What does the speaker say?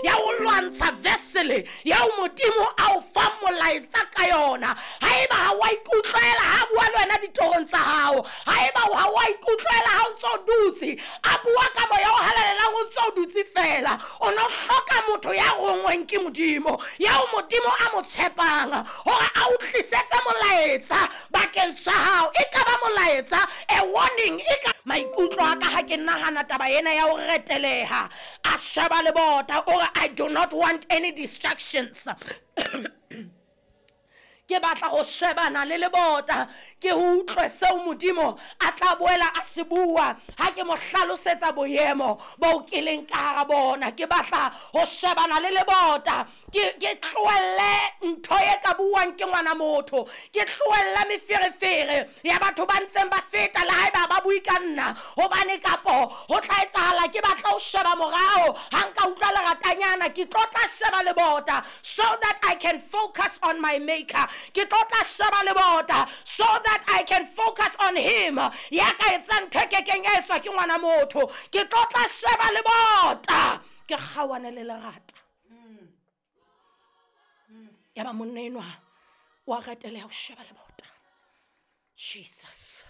Ya ho lwantsha vessel eo Modimo a o fang molaetsa ka yona. Haeba ha wa ikutlwela ha bua le wena ditorong tsa hao, haeba ha wa ikutlwela ha o ntso dutse, a bua ka moya o halalelang o ntso dutse fela, o no hloka motho ya rongweng ke Modimo, yeo Modimo a mo tshepang hore a o tlisetse molaetsa bakeng sa hao. E ka ba molaetsa, a warning, e ka maikutlo a ka ha ke nahana taba ena ya ho reteleha, a sheba lebota, o re I do not want any distractions. Ke batla ho shebana le lebota, ke ho utlwe seo Modimo a tla boela a se bua ha ke mo hlalosetsa boemo bo ke leng ka hara bona. Ke batla ho shebana le lebota, ke tlohelle ntho e ka buang ke ngwana motho, ke tlohelle meferefere ya batho ba ntseng ba feta le haeba ba bue ka nna, hobane kapo ho tla etsahala ke batla ho sheba morao. Ha nka utlwa leratanyana, ke tlo tla sheba lebota so that I can focus on my maker. Ke tlo tla sheba lebota so that I can focus on him ya ka etsang ntho e kekeng ya etswa ke ngwana motho. Ke tlo tla sheba lebota, ke kgaoane le lerata. Ya ba monna enwa wa reteleha ho sheba lebota. Jesus.